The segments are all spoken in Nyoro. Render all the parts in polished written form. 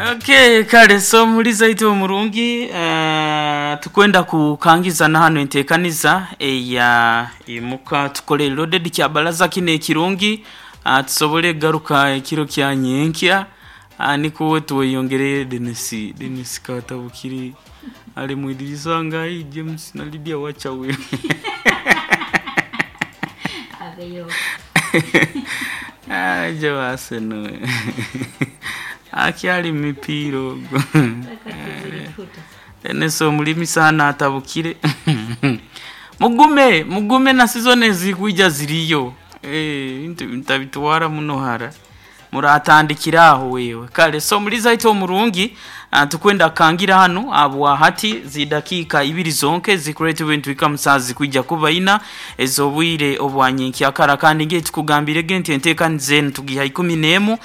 Okay, kale so muliza itwe omurungi, tukwenda kukangiza na hano entekaniza eya imuka tukole loaded kya baraza kino ekirungi, tusobole garuka ekiro kya nyenkya, nikuwe tweyongere. Denis Katabukiri ali mwidirisa ngai James na Lydia wachawe. Abeyo. Aje waseno akyali mipiira ogwo. Takatuzirikuta. Denis omulimi sana atabukire. Mugume mugume na sizoni ezikwija ziriyo. Ebintu ntabitwara muno hara, muratandikira aho wewe. Kale so muliza itwe omurungi, tukwenda kangira hano abwa hati zidakiika 2 zonke zikureta ebintu bikamusaa zikwija kuba ina ez'obwire obwanyenkyakara. Kandi ngiye tukugambire nti enteekaniza enu tugiha 11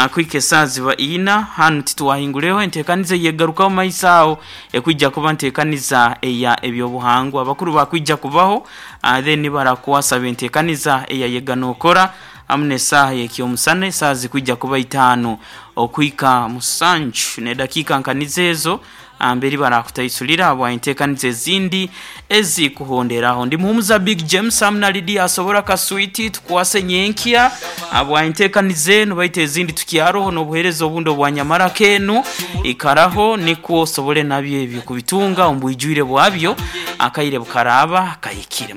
kwika esaa ziba ina. Hanu titwahingureho enteekaniza yegarukaho maiso aho ekwija kuba nteekaniza eya ebyobuhangwa, abakuru bakwija kubaho, then barakwasaba enteekaniza eya yega nokora hamu n'esaaha y'ekyomusana esaaha zikwija kuba 5 okwika 7 n'edakiika nkanizo ezo mberi barakutaisulira habwa enteekaniza ezindi ezikuhonderaho. Ndi muhumuza Big James hamu na Lydia asobora kaswiti tukwase nyenkya habwa enteekaniza enu, baitu ezindi tukyaroho n'obuheereza obundi obwanyamaraka enu ikaraho nikwo osobole nabyo ebyo kubitunga omu bwijwire bwabyo akaire bukaraba kahikire.